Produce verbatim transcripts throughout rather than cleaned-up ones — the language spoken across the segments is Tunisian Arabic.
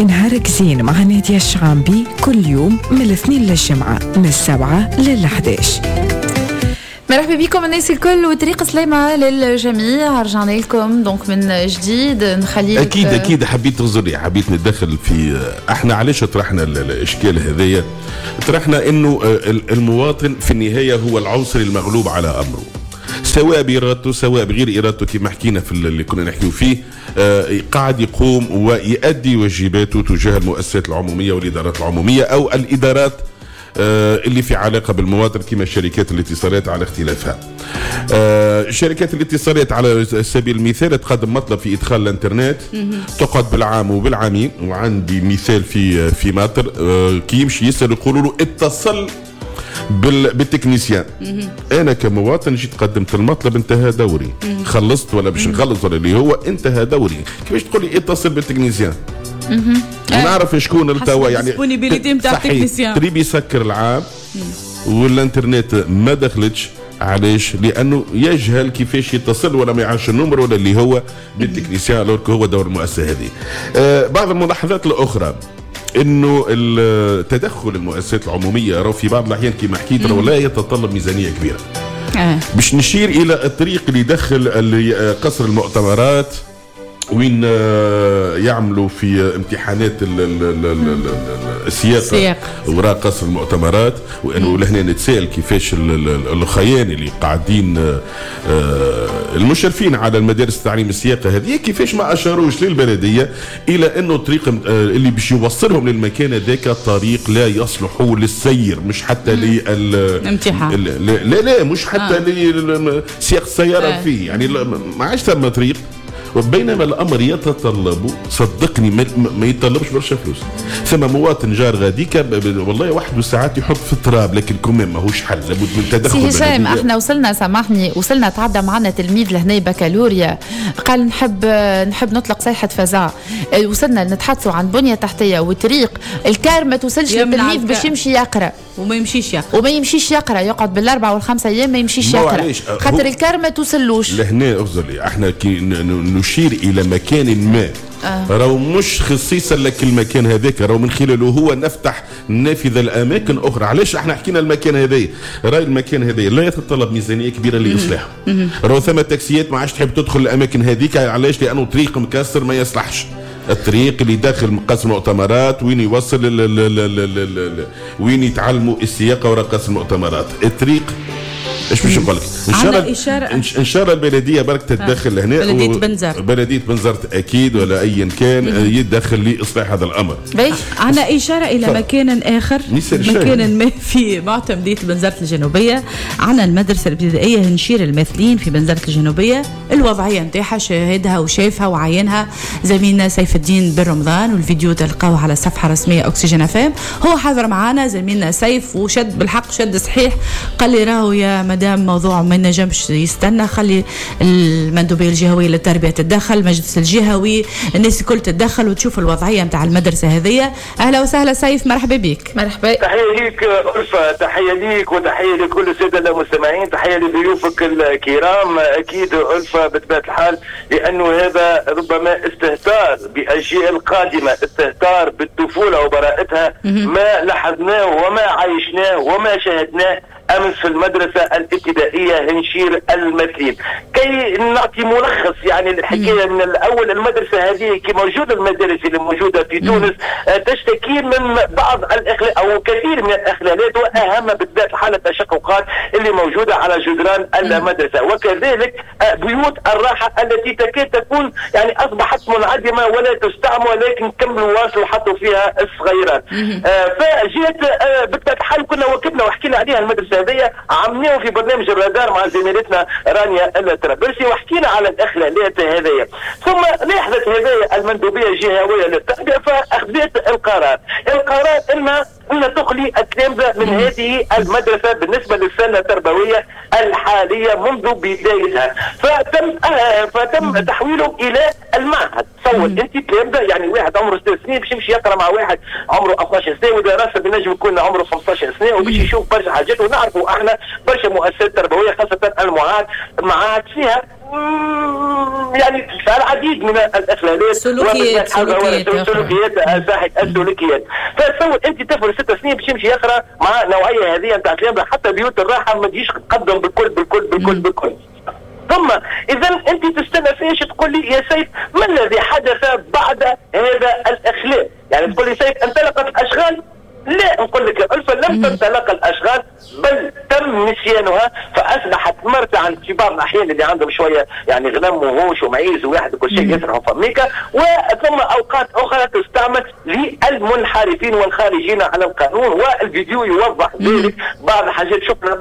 نهارك زين مع نادية الشعامبي كل يوم من الاثنين للجمعة من السبعة للحداش. مرحبا بكم الناس الكل وطريق سلامة للجميع. رجعنا لكم donc من جديد. نخليك اكيد اكيد حبيت تغزري، حبيت نتدخل في احنا علاش طرحنا الاشكال هذايا. طرحنا انه المواطن في النهاية هو العنصر المغلوب على امره، سواء بارادته سواء بغير ارادته، كما حكينا في اللي كنا نحكيو فيه. آه قاعد يقوم ويؤدي واجباته تجاه المؤسسات العمومية والادارات العمومية او الادارات آه اللي في علاقة بالمواطن، كما شركات الاتصالات على اختلافها. آه شركات الاتصالات على سبيل المثال تقدم مطلب في ادخال الانترنت، تقعد بالعام وبالعامين. وعندي مثال في في ماطر، آه كي يمشي يسال يقولوا له اتصل بال technicien. انا كمواطن جيت قدمت المطلب، انتهى دوري، خلصت ولا باش نخلص ولا اللي هو انتهى دوري. كيفاش تقول لي اتصل بال technicien؟ ونعرف شكون التوا يعني disponibilité نتاع ال technicien. تريب يسكر العام والانترنت ما دخلتش. علاش؟ لانه يجهل كيفاش يتصل ولا ما يعرفش ال numéro ولا اللي هو بال technicien، alors هو دور المؤسسة هذه. آه بعض الملاحظات الاخرى انه التدخل المؤسسات العمومية راهو في بعض الاحيان كما حكيت راهو لا يتطلب ميزانية كبيرة. آه. باش نشير الى الطريق اللي يدخل اللي قصر المؤتمرات وين يعملوا في امتحانات السياقه وراء قصر المؤتمرات، وانه لهنا نتساءل كيفاش الخيان اللي قاعدين المشرفين على المدارس التعليم السياقه هذه كيفاش ما اشاروش للبلديه الى انه الطريق اللي باش يوصلهم للمكان هذاك طريق لا يصلح للسير، مش حتى للامتحان، لا لا مش حتى آه. لسياق السيارة آه. فيه يعني ما عادش ثم طريق. وبينما الامر يتطلب، صدقني ما, ما يتطلبش برشا فلوس. ثم مواطن جار غاديك والله وحده ساعات يحط في التراب، لكن كمان ماهوش حل، لابد من تدخل. سي هشام احنا وصلنا، سامحني، وصلنا تعدى معنا تلميذ لهنا بكالوريا قال نحب نحب نطلق صيحة فزع. وصلنا نتحدثوا عن بنيه تحتيه وطريق الكار ما توصلش للتلميذ باش يمشي يقرا وما يمشيش يقرا وما يمشيش يقرا يقعد بالاربع والخمسة ايام ما يمشيش يقرا خاطر الكار ما توصلوش. لهنا اغزر لي احنا كي نشير الى مكان ما آه. راهو مش خصيصا لك المكان هذاك، راهو من خلاله هو نفتح نافذة لاماكن اخرى. علاش احنا حكينا المكان هذايا؟ راي المكان هذايا لا يتطلب ميزانية كبيرة لاصلاحه. راهو ثم تاكسيات ما عادش تحب تدخل الاماكن هذيك. علاش؟ لانه طريق مكسر ما يصلحش. الطريق اللي داخل قصر المؤتمرات وين يوصل ل ل ل ل وين يتعلموا السياقه وراء قصر المؤتمرات، الطريق ايش باش نقول لك؟ ان شاء الله ان شاء الله البلدية برك تتدخل لهنا، بلديه بنزرت، بلديه بنزرت اكيد ولا ايا كان يتدخل لاصلاح هذا الامر. عندنا اشارة الى ف... مكان اخر، مكان ما في معتمديه بنزرت الجنوبية. عندنا المدرسة الابتدائية هنشير الماثلين في بنزرت الجنوبية، الوضعية نتاعها شاهدها وشافها وعينها زميلنا سيف الدين بن رمضان، والفيديو تلقاوه على الصفحة الرسمية اكسجين اف ام. هو حاضر معنا زميلنا سيف وشد بالحق شد صحيح، قال لي راهو يا مدام موضوع ما نجمش يستنى، خلي المندوبيه الجهوية للتربية تتدخل، المجلس الجهوي، الناس الكل تتدخل وتشوف الوضعية نتاع المدرسة هذه. اهلا وسهلا سيف، مرحبا بك. مرحبا، تحية ليك ألفة، تحية ليك وتحية لكل السادة المستمعين، تحية لضيوفك الكرام. اكيد ألفة بطبيعة الحال لانه هذا ربما استهتار باجيال قادمة، استهتار بالطفولة وبراءتها، ما لاحظناه وما عايشناه وما شاهدناه أمس في المدرسة الابتدائية هنشير المثلين. كي نعطي ملخص يعني الحكاية من الأول، المدرسة هذه كي موجودة، المدارس اللي موجودة في تونس تشتكي من بعض الإخلال أو كثير من الإخلالات، وأهم بالذات حالة التشققات اللي موجودة على جدران المدرسة، وكذلك بيوت الراحة التي تكاد تكون يعني أصبحت منعدمة ولا تستعمل، ولكن كملوا واصلوا حطوا فيها الصغيرات. فجهة بالذات الحال كنا وكبنا وحكينا عليها المدرسة هذه، عملناه في برنامج الرادار مع زميلتنا رانيا الترابلسي وحكينا على الاخلالات هذيا. ثم لاحظت هذايا المندوبيه الجهوية للتربية فاخذت القرار، القرار ان ان تخلي التلامذه من هذه المدرسة بالنسبة للسنة التربوية الحالية منذ بدايتها، فتم فتم تحويلهم الى المعهد. تصور انت تلامذه، يعني واحد عمره ست سنين باش يمشي يقرا مع واحد عمره اثناش سنة، واذا راسب ينجم يكون عمره خمسطاش سنة، وباش يشوف برشا حاجات. ونعرفوا احنا برشا مؤسسات تربوية خاصة المعاهد، المعاهد فيها يعني العديد من الاخلالات، سلوكيات سلوكيات سلوكيات السلوكيات. فتصور انت طفل ست سنين باش يمشي يقرا مع نوعية هذه نتاع تلامذه، حتى بيوت الراحة ما تجيش تقدم بالكل بالكل بالكل بالكل. ثم اذا انت تستنى فيش تقول لي يا سيف ما الذي حدث بعد هذا الاخلال؟ يعني تقول لي سيف انطلقت الاشغال؟ لا، نقول لك ألفا لم تنطلق الأشغال، بل تم نسيانها، فأصبحت مرتعا في بعض الأحيان اللي عندهم شوية يعني غنم وهوش ومعيز وواحد وكل شيء يسرحوا فميكا، وثم أوقات أخرى تستعمل للمنحرفين والخارجين على القانون، والفيديو يوضح ذلك. بعض الحاجات شفنا،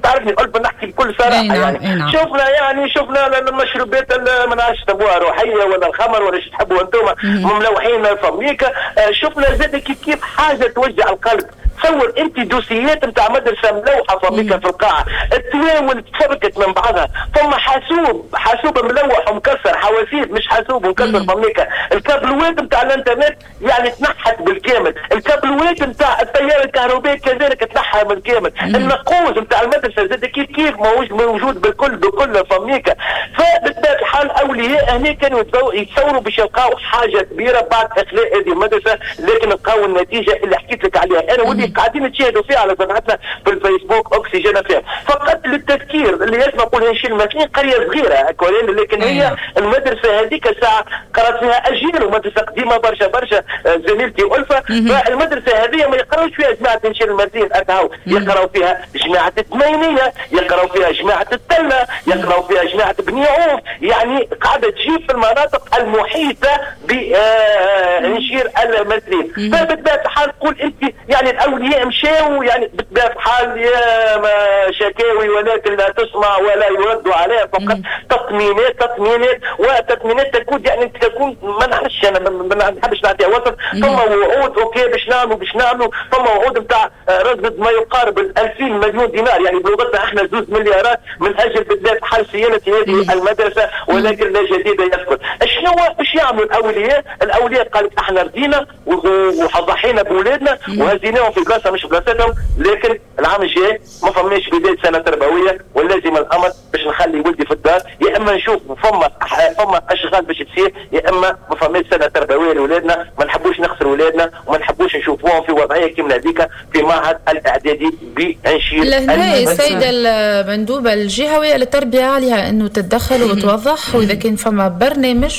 تعرفني ألفا نحكي بكل صراحة، يعني شفنا يعني شفنا المشروبات ما نعرفش تبوها روحية ولا الخمر ولا شو تحبوا أنتم مملوحين فميكا. شفنا زاد كيف كيف حاجة توجع القلب. تصور انت دوسيات نتاع مدرسه ملوحه فميكا في القاعة، التواول تفركت من بعضها، ثم حاسوب حاسوب ملوح ومكسر، حواسيب مش حاسوب ومكسر فميكا، الكابلوات نتاع الانترنت يعني تنحت بالكامل، الكابلوات نتاع التيار الكهربائي كذلك تنحى بالكامل، النقوز نتاع المدرسة زاد كيف كيف ماهوش موجود بالكل بكل فميكا. فبالطبيعه الحال اولياء هنا كانوا يتصوروا باش يلقاو حاجة كبيرة بعد اخلاء هذه المدرسة، لكن لقاو النتيجة اللي حكيت لك عليها انا واللي قاعدين نتشاهدوا فيها على صفحتنا في الفيسبوك اكسجين فيها. فقط للتذكير اللي يسمع يقول هنشيل المثلين قرية صغيرة لكن هي المدرسة هذيك الساعة قرات فيها اجيال ومدرسة قديمة برشا برشا زميلتي الفه. فالمدرسه هذه ما يقراوش فيها جماعة هنشيل المثلين اكاو، يقراو فيها جماعة الثمانينيه، يقراو فيها جماعة التلة، يقراو فيها جماعة بني عوف، يعني قاعدة تجيب في المناطق المحيطة بهنشير المثلين. فبالطبيعه الحال تقول انت يعني الاولياء مشاو يعني بطبيعة الحال يا ما شكاوي ولكن لا تسمع ولا يرد عليها، فقط تطمينات تطمينات وتطمينات تكون يعني تكون ما نعرفش انا ما نحبش نعطيها وصف. ثم وعود OK باش نعملوا باش نعملوا، ثم وعود نتاع رصد ما يقارب ألفين مليون دينار، يعني بلغتنا احنا زوج مليارات من اجل بالذات حل صيانة هذه المدرسة، ولكن لا جديد يذكر. شنو باش يعملوا الاولياء؟ الاولياء قالت احنا رضينا وضحينا باولادنا وهزيناهم في بلاصة مش بلاصتهم، لكن العام الجاي ما فماش بداية سنة تربوية، ولازم الامر باش نخلي ولدي في الدار، يا اما نشوف فما فما اشغال باش تصير، يا اما ما فماش سنة تربوية لاولادنا. ما نحبوش نخسر اولادنا وما نحبوش نشوفوهم في وضعية كيما هذيك في معهد الاعدادي بانشير. لهنا السيدة المندوبه الجهوية للتربية عليها انه تتدخل وتوضح، واذا كان فما برنامج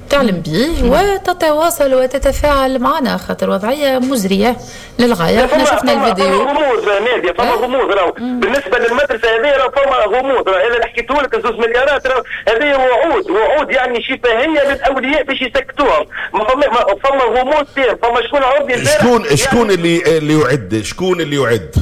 تعلم به وتتواصل وتتفاعل معنا، خاطر وضعية مزرية للغاية. احنا شفنا الفيديو. فما غموض نادية، فما غموض راهو بالنسبة للمدرسة هذه، راهو فما غموض. انا اللي حكيته لك زوج مليارات راهو هذه وعود، وعود يعني شفهية للأولياء باش يسكتوهم. فما فما غموض تام، فما شكون عرض شكون شكون اللي اللي يعد، شكون اللي يعد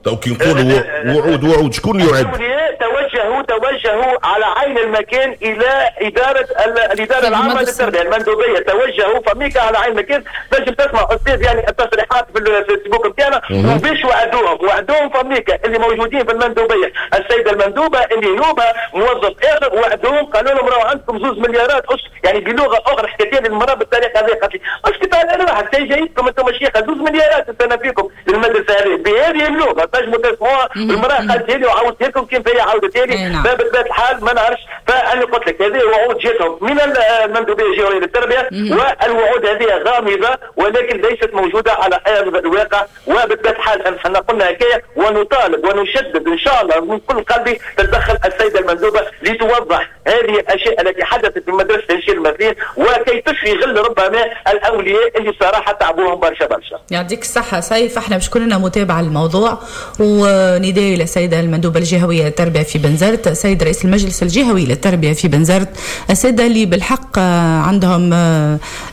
تو كي نقولوا وعود وعود شكون اللي يعد؟ توجهوا توجهوا على عين المكان الى ادارة الادارة العامة للتربية المندوبيه، توجهوا فميكا على عين المكان. تنجم تسمع استاذ يعني التصريحات في الفيسبوك نتاعنا، وباش وعدوهم وعدوهم فميكا اللي موجودين في المندوبيه، السيدة المندوبه اللي نوبه موظف اخر، وعدوهم قالوا لهم راهو عندكم زوج مليارات أش... يعني بلغه اخرى حكيت لي المراة بالطريقة هذه، قالت لي اسكت على روحك جايتكم انتم شيخه زوج مليارات السنة فيكم للمدرسة هذه بهذه اللغة تنجموا تسمعوها. المراة قالت لي وعاودت لكم كيف هي عاودت لي. فبطبيعه الحال ما نعرفش. فانا قلت لك هذه وعود جاتهم من المندوبيه الجهوية للتربية، والوعود هذه غامضة ولكن ليست موجودة على ارض الواقع. وبطبيعة الحال احنا قلنا هكايا ونطالب ونشدد ان شاء الله من كل قلبي تتدخل السيدة المندوبه لتوضح هذه الاشياء التي حدثت في مدرسه هنشير المثلين، وكي تشفي غل ربما الاولياء اللي صراحة تعبوهم برشا برشا. يعطيك الصحة سيف، احنا باش كلنا متابعه الموضوع، ونداء للسيدة المندوبه الجهوية للتربية في بنزرت، السيد رئيس المجلس الجهوي للتربية في بنزرت، السادة اللي بالحق عندهم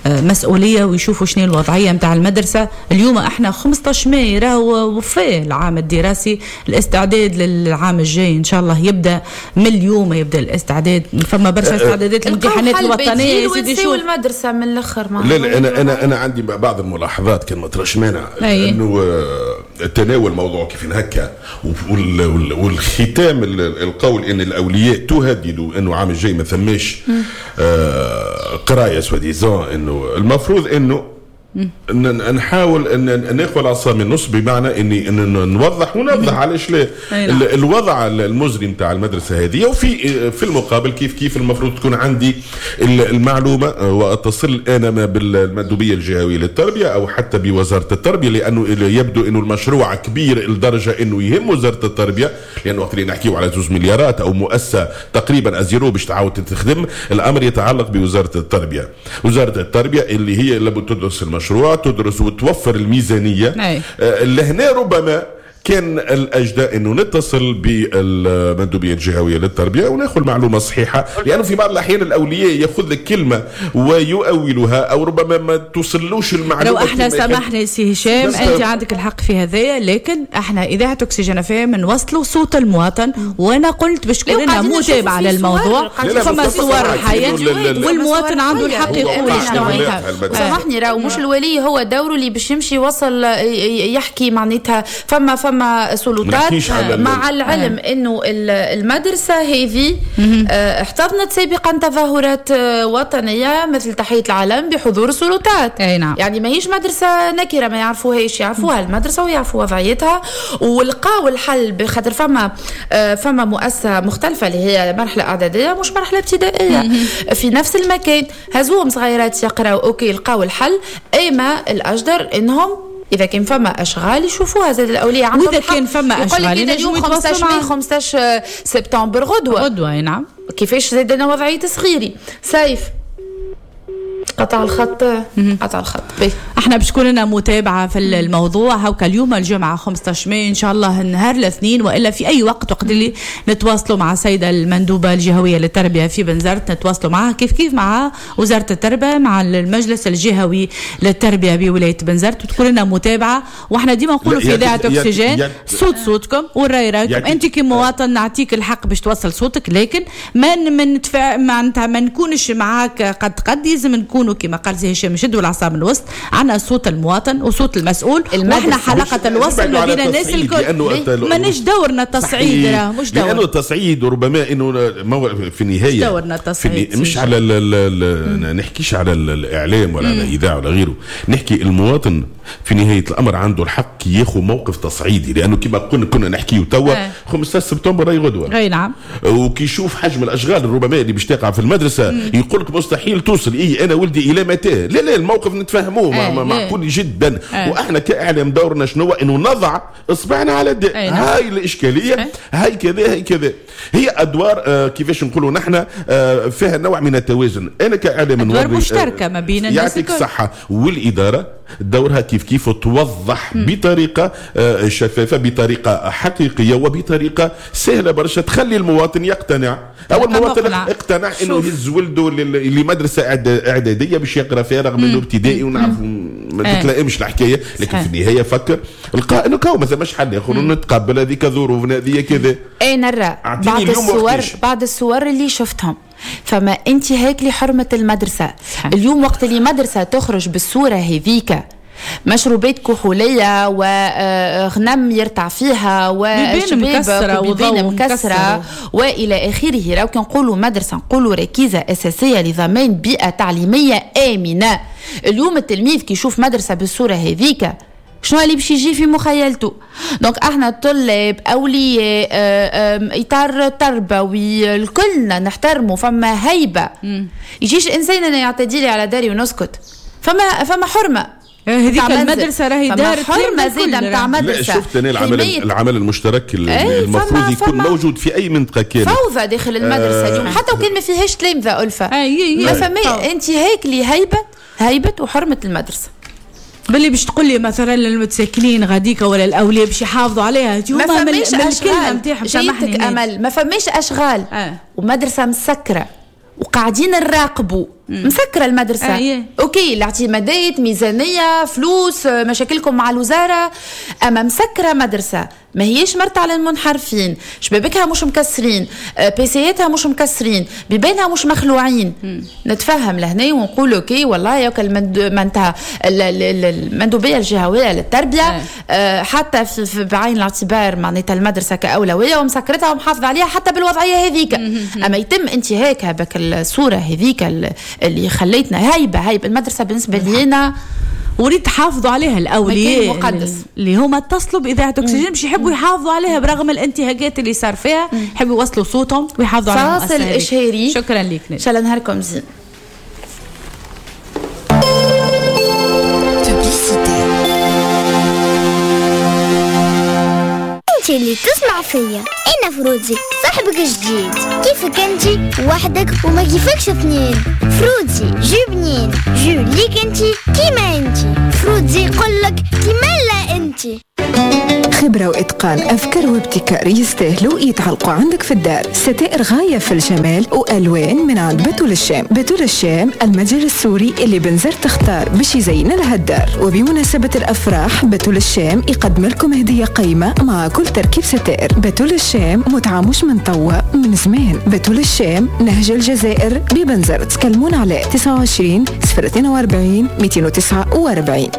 مسؤولية ويشوفوا شنو الوضعية نتاع المدرسة. اليوم احنا خمسطاش ماي راهو وفاه العام الدراسي، الاستعداد للعام الجاي ان شاء الله يبدا من اليوم، يبدا الاستعداد. فما برشا استعدادات الامتحانات الوطنية يا سيدي. شو المدرسة من الاخر لا لا انا انا انا عندي بعض الملاحظات كان ما تراش مانع، لانه تناول موضوع كيف هكا، والختام القول ان الاولياء تهددوا انه عام الجاي ما ثماش آه قرايه soi-disant، انه المفروض انه نحاول ان ناخذ العصا من النص، بمعنى اني ان نوضح ونوضح علاش لا الوضع المزري نتاع المدرسة هذه، وفي في المقابل كيف كيف المفروض تكون عندي المعلومة واتصل انا بالمندوبيه الجهوية للتربية او حتى بوزارة التربية، لانه يبدو انه المشروع كبير لدرجة انه يهم وزارة التربية، لانه وقت اللي نحكيو على زوج مليارات او مؤسسة تقريبا à zéro باش تعاود تخدم، الامر يتعلق بوزارة التربية. وزارة التربية اللي هي لابد تدرس المشروع، تدرس وتوفر الميزانية. آه لهنا ربما كان الأجدى أنه نتصل بالمندوبية الجهوية للتربية وناخذ معلومة صحيحة، لأنه في بعض الأحيان الأولياء يأخذ لك كلمة ويؤولها أو ربما ما توصلوش المعلومة. لو احنا سامحني سي هشام، أنت عندك الحق في هذايا، لكن احنا إذاعة أكسجين إف إم نوصلوا صوت المواطن، وأنا قلت باش كلنا متابعة للموضوع، فما صور حية والمواطن عنده الحق يقول شنو. سامحني راهو مش الولي هو دوره اللي باش يمشي يوصل يحكي معناتها، فما فما سلطات، مع العلم انه المدرسة هذه احتضنت سابقا تظاهرات وطنية مثل تحية العلم بحضور السلطات. أي نعم. يعني ماهيش مدرسه نكره ما يعرفوهاش، يعرفوها المدرسة ويعرفوا وضعيتها ولقاو الحل، بخاطر فما فما مؤسسة مختلفة اللي هي مرحلة اعدادية مش مرحلة ابتدائية في نفس المكان، هزوهم صغيرات يقراو OK لقاو الحل. اما الاجدر انهم إذا كان فما أشغال يشوفوها زاد الأولياء عندهم. وإذا كان فما أشغال اليوم خمسة عشر ماي خمسة عشر سبتمبر غدوة غدوة نعم. كيفاش زاد أنا وضعية صغيري سيف قطع الخط قطع الخط بي. احنا باش تكون لنا متابعه في الموضوع هاكا اليوم الجمعة خمسة عشر ماي، ان شاء الله النهار الاثنين والا في اي وقت، وقت اللي نتواصلوا مع السيدة المندوبه الجهوية للتربية في بنزرت، نتواصلوا معها كيف كيف مع وزارة التربية، مع المجلس الجهوي للتربية بولاية بنزرت، وتكون لنا متابعه. واحنا ديما نقولوا في اذاعة اكسجين صوت صوتكم والراي رايكم. انت كمواطن نعطيك الحق باش توصل صوتك، لكن ما من معناتها ما نكونش معاك قد قد، لازم نكونوا كما قال سي هشام نشدوا العصا من الوسط. عندنا صوت المواطن وصوت المسؤول، واحنا حلقة الوصل ما بين الناس الكل. مانيش دورنا التصعيد، راه مش دورنا، لانه التصعيد ربما انه في النهاية دورنا التصعيد مش على ال ال نحكيش على الاعلام ولا على الاذاعة ولا غيره، نحكي المواطن في نهاية الامر عنده الحق ياخذ موقف تصعيدي، لانه كما كنا كنا نحكيو توا خمسة عشر سبتمبر راهي غدوه. اي نعم. وكي يشوف حجم الاشغال ربما اللي باش تقع في المدرسة يقول لك مستحيل توصل، اي انا ولدي الى متى؟ لا لا الموقف نتفهموه آه معقول جدا. آه. واحنا كاعلام دورنا شنو؟ انه نضع اصبعنا على الداء. آه. هاي الاشكالية. آه. هاي كذا هاي كذا، هي ادوار آه كيفاش نقولوا نحن آه فيها نوع من التوازن. انا كاعلام ادوار مشتركة ما بين الناس، يعطيك الصحة، والادارة دورها كيف كيف توضح م. بطريقة شفافة، بطريقة حقيقية، وبطريقة سهلة برشا تخلي المواطن يقتنع. او المواطن اقتنع انه يهز ولده لمدرسة اعدادية باش يقرا فيها رغم انه ابتدائي ونعرف ما تتلائمش الحكاية، لكن في النهاية فكر لقى انه كاو ما ثماش حل اخر نتقبل هذيك ظروفنا هذه كذا. اي نرى بعض الصور بعض الصور اللي شفتهم فما انتهاك لحرمة المدرسة. اليوم وقت اللي مدرسة تخرج بالصورة هذيك، مشروبات كحولية وغنم يرتع فيها وشباب وبيبان مكسرة وإلى آخره، لو كان نقولوا مدرسة نقولوا ركيزة أساسية لضمان بيئة تعليمية آمنة. اليوم التلميذ كي يشوف مدرسة بالصورة هذيك شنو اللي باش يجي في مخيلته؟ donc احنا طلاب، اولياء، اطار تربوي، الكلنا نحترموا، فما هيبة. يجيش انسان انا يعتدي لي على داري ونسكت، فما فما حرمه. هذيك المدرسة راهي دار حرمه زاده نتاع مدرسه. شفت انا العمل العمل المشترك اللي المفروض يكون موجود في اي منطقة كانت. فوضى داخل المدرسة اليوم حتى وكان ما فيهاش تلامذه الفه، ما فما انتهاك لهيبه هيبة وحرمه المدرسة. باللي باش تقول لي مثلا المتساكنين غاديك ولا الاولياء باش يحافظوا عليها، ما فماش اشغال نتاعهم. سامحني امل، ما فماش اشغال. آه. ومدرسة مسكره وقاعدين نراقبوا، مسكره المدرسة. آه. OK الاعتمادات، ميزانية، فلوس، مشاكلكم مع الوزارة، اما مسكره مدرسه. ما هيش مرتع للمنحرفين، شبابكها مش مكسرين، بيسياتها مش مكسرين، بيبانها مش مخلوعين. مم. نتفهم لهنا ونقول OK والله ياك المندوبيه المندوبيه الجهوية للتربية آه حتى في, في بعين الاعتبار معناتها المدرسة كاولويه ومسكرتها ومحافظة عليها حتى بالوضعيه هذيك. اما يتم انتهاكها بك الصورة هذيك اللي خليتنا هيبة هيبة المدرسة بالنسبة لينا، وريد تحافظوا عليها الاولياء المقدس اللي هما اتصلوا باذاعة اكسجين باش يحبوا يحافظوا عليها برغم الانتهاكات اللي صار فيها، يحبوا يوصلوا صوتهم ويحافظوا على المؤسسة. فاصل اشهاري. شكرا لك، ان شاء الله نهاركم زين. انت اللي تسمع فيا انا فروزي صاحبك الجديد، كيفك انت وحدك وما كيفكش اثنين. فروزي jus بنين، jus ليك انت كيما انت، فروزي يقولك كيما لا انت. خبرة وإتقان، أفكار وابتكار يستاهلوا يتعلقوا عندك في الدار. ستائر غاية في الجمال وألوان من عند بتول الشام. بتول الشام المتجر السوري اللي بنزر تختار باش يزين لها الدار. وبمناسبة الأفراح بتول الشام يقدم لكم هدية قيمة مع كل تركيب ستائر. بتول الشام متعة مش من توا، من زمان. بتول الشام نهج الجزائر ببنزر. تكلمون على تسعة وعشرين صفر اثنين وأربعين مئتين وتسعة وأربعين.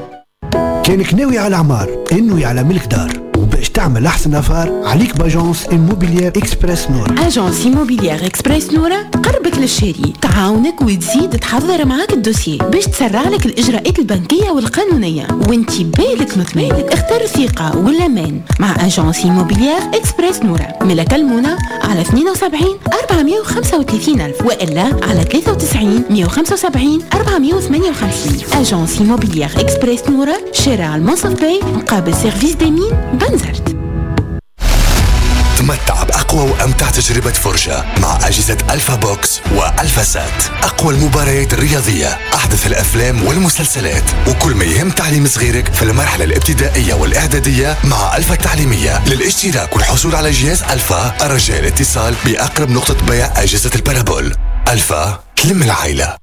كانك ناوي على عمار انوي على ملك دار، وباش تعمل احسن affaire عليك ب agence immobilière Express نورا. agence immobilière Express نورا قربك للشاري، تعاونك وتزيد تحضر معاك ال dossier باش تسرع لك الاجراءات البنكية والقانونيه وانت بالك مطمئن. اختار الثقة والامان مع agence immobilière Express نورا. ملا كلمونا على اثنين وسبعين أربعمية وخمسة وثلاثين الف والا على ثلاثة وتسعين مية وخمسة وسبعين أربعمية وثمانية وخمسين. agence immobilière Express نورا، شارع المنصف باي مقابل service des mines بنزرت. تمتع بأقوى وأمتع تجربة فرجة مع أجهزة ألفا بوكس وألفا سات. أقوى المباريات الرياضية، أحدث الأفلام والمسلسلات، وكل ما يهم تعليم صغيرك في المرحلة الابتدائية والإعدادية مع ألفا التعليمية. للاشتراك والحصول على جهاز ألفا الرجاء الاتصال بأقرب نقطة بيع أجهزة ال parabole. ألفا تلم العائلة.